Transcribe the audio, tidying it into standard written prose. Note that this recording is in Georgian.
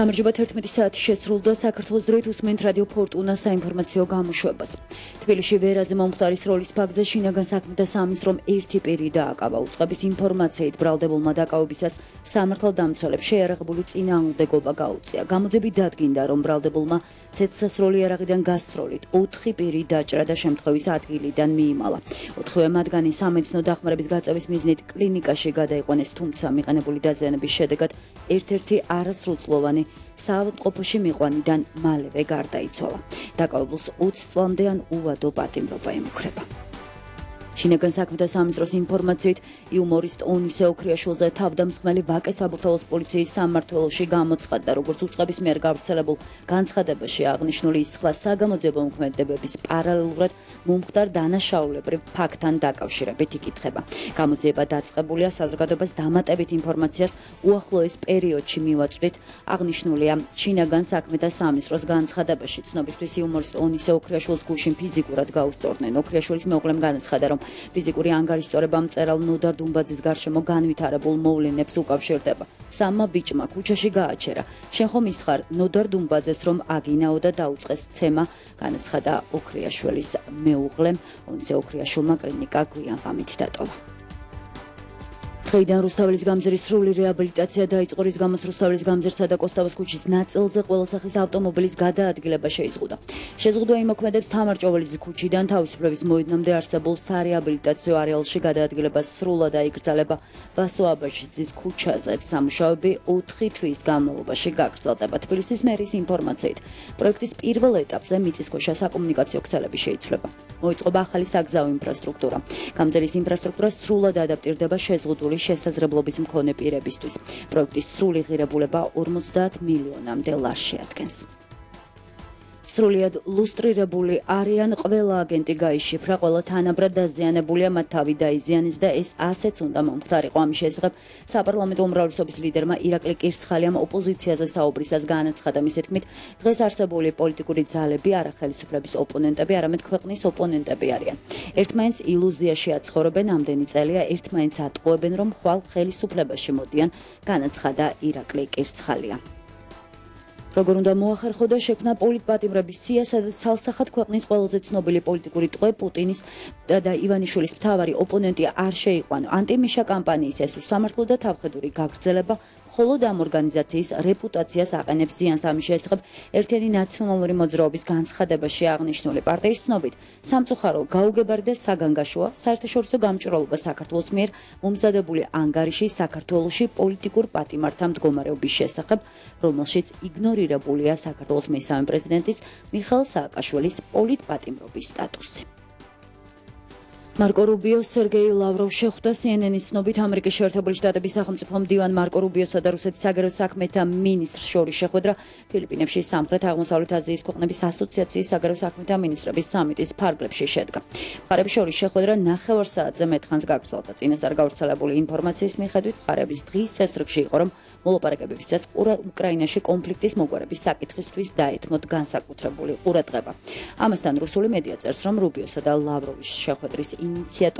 გამარჯობა 11 საათი შესრულდა საქართველოს დროით უსმენთ რადიო ფორტუნა საინფორმაციო გამოშვებას. თბილისში ვერაზე მომხდარის როლის ფაქტზე შინაგან საქმეთა სამინისტრომ ერთი პირი დააკავა. უწყების ინფორმაციით ბრალდებულმა დაკავებისას სამართალდამცველებს შეიარაღებული წინააღმდეგობა გაუწია. გამოძები დადგინდა, რომ ბრალდებულმა ცეცხლსასროლი იარაღიდან გასროლით 4 პირი დაჭრა და შემთხვევის ადგილიდან მიიმალა. 4-ვე მათგანი სამედიცინო დახმარების გაწევის მიზნით კლინიკაში გადაიყვანეს, თუმცა მიყენებული დაზიანების შედეგად ერთ-ერთი არასრულწლოვანი საავადმყოფოში მიყვანიდან მალევე გარდაიცვალა. დაკავებულს 20 წლამდე ან უვადო პატიმრობა ემუქრება. შინაგან საქმეთა სამინისტროს ინფორმაციით იუმორისტ ონისე ოქრიაშვილზე თავდამსხმელი ვაკე საბურთალოს პოლიციის სამმართველოში გამოცხადდა, როგორც უწყების მიერ გავრცელებულ განცხადებაში აღნიშნული ის სხვა საგამოძიებო მოქმედებების პარალელურად მომხდარ დანაშაულებრივ ფაქტთან დაკავშირებით იკითხება. გამოძიება დაწყებულია საზოგადოებას დამატებით ინფორმაციას უახლოეს პერიოდში მივაწვდით, აღნიშნულია შინაგან საქმეთა სამინისტროს განცხადებაში. ცნობისთვის იუმორისტ ონისე ოქრიაშვილს გულშინ ფიზიკურად გაუსწორდნენ. ოქრიაშვილის მეუღლემ განაცხადა, რომ ფიზიკური ანგარიშწორება მწერალ ნოდარ დუმბაძის გარშემო განვითარებულ მოვლენებს უკავშირდება. სამმა ბიჭმა ქუჩაში გააჩერა. შენ ხომ ის ხარ ნოდარ დუმბაძეს, რომ აგინაო და დაუწყეს ცემა, განაცხადა ოქრიაშვილის მეუღლემ. ონისე ოქრიაშვილმა კლინიკა გვიან ღამით დატოვა. დღეიდან რუსთაველის გამზირის სრული რეაბილიტაცია დაიწყო, რის გამოც რუსთაველის გამზირსა და კოსტავას ქუჩის ნაწილზე ყველა სახის ავტომობილის გადაადგილება შეიზღუდა. შეზღუდვა იმოქმედებს თამარ-ჭოველის ქუჩიდან თავისუფლების მოედნამდე არსებულ სარეაბილიტაციო არეალში გადაადგილება სრულად აიგრძელება. ვასო აბაშიძის ქუჩაზეც სამუშაოები 4 თვის განმავლობაში გაგრძელდება. თბილისის მერის ინფორმაციით, პროექტის პირველ ეტაპზე მიწისქვეშა საკომუნიკაციო ქსელები შეიცვლება. მოიწყობა ახალი საგზაო ინფრასტრუქტურა. გამზირის ინფრასტრუქტურა სრულად ადაპტირდება შეზღუდული შესაძლებლობის მქონე პირებისთვის. პროექტის სრული ღირებულება 50 მილიონამდე ლარს შეადგენს. სრულიად ლუსტრირებული არიან ყველა აგენტი გაიშიფრა, ყველა თანაბრად დაზიანებულია, მათ თავი დაიზიანეს და ეს ასეც უნდა მომხდარიყო. ამის შესახებ საპარლამენტო უმრავლესობის ლიდერმა ირაკლი კირცხალიამ ოპოზიციაზე საუბრისას განაცხადა, მის თქმით, დღეს არსებული პოლიტიკური ძალები არა ხელისუფლების ოპონენტები, არამედ ქვეყნის ოპონენტები არიან. ერთმანეთს ილუზიაში აცხოვრებენ, ამდენი წელია ერთმანეთს ატყუებენ, რომ ხვალ ხელისუფლებაში მოდიან, განაცხადა ირაკლი კირცხალია. როგორ უნდა მოახერხო და შექმნა პოლიტპატიმრების სია, სადაც ცალსახად ქვეყნის ყველაზე ცნობილი პოლიტიკური ტყვე პუტინის და ივანიშვილის მთავარი ოპონენტი არ შეიყვანო. ანტიმიშა კამპანიის ეს უსამართლო და თავხედური გაგრძელება მხოლოდ ამ ორგანიზაციის რეპუტაციას აყენებს ზიანს. ამის შესახებ ერთიანი ნაციონალური მოძრაობის განცხადებაში აღნიშნული პარტიის ცნობით, სამწუხარო გაუგებარი და საგანგაშოა საერთაშორისო გამჭვირვალობა საქართველოს მიერ მომზადებული ანგარიში საქართველოში პოლიტიკურ პატიმართა მდგომარეობის შესახებ, რომელშიც იგნორირებულია საქართველოს მესამე პრეზიდენტის მიხეილ სააკაშვილის პოლიტპატიმრობის სტატუსი. მარკო რუბიო სერგეი ლავროვი შეხვდა CNN-ის ცნობით ამერიკის შეერთებული შტატების სახელმწიფო მდივან მარკო რუბიოსა და რუსეთის საგარეო საქმეთა მინისტრს შორის შეხვედრა ფილიპინებში სამხრეთ-აღმოსავლეთ აზიის ქვეყნების ასოციაციის საგარეო საქმეთა მინისტრების სამიტის ფარგლებში შედგა. მხარეების შორის შეხვედრა 9 საათზე მეტხანს გაგრძელდა. წინასწარ გავრცელებული ინფორმაციის მიხედვით, მხარეების დღის წესრიგში იყო, რომ მოლაპარაკებებისას უკრაინაში კონფლიქტის მოგვარების საკითხისთვის დაეთმოთ განსაკუთრებული ყურადღება. ამასთან რუსული მედია წერს, რომ რუბიოსა და ლავროვის შეხვედრის ინიციატორი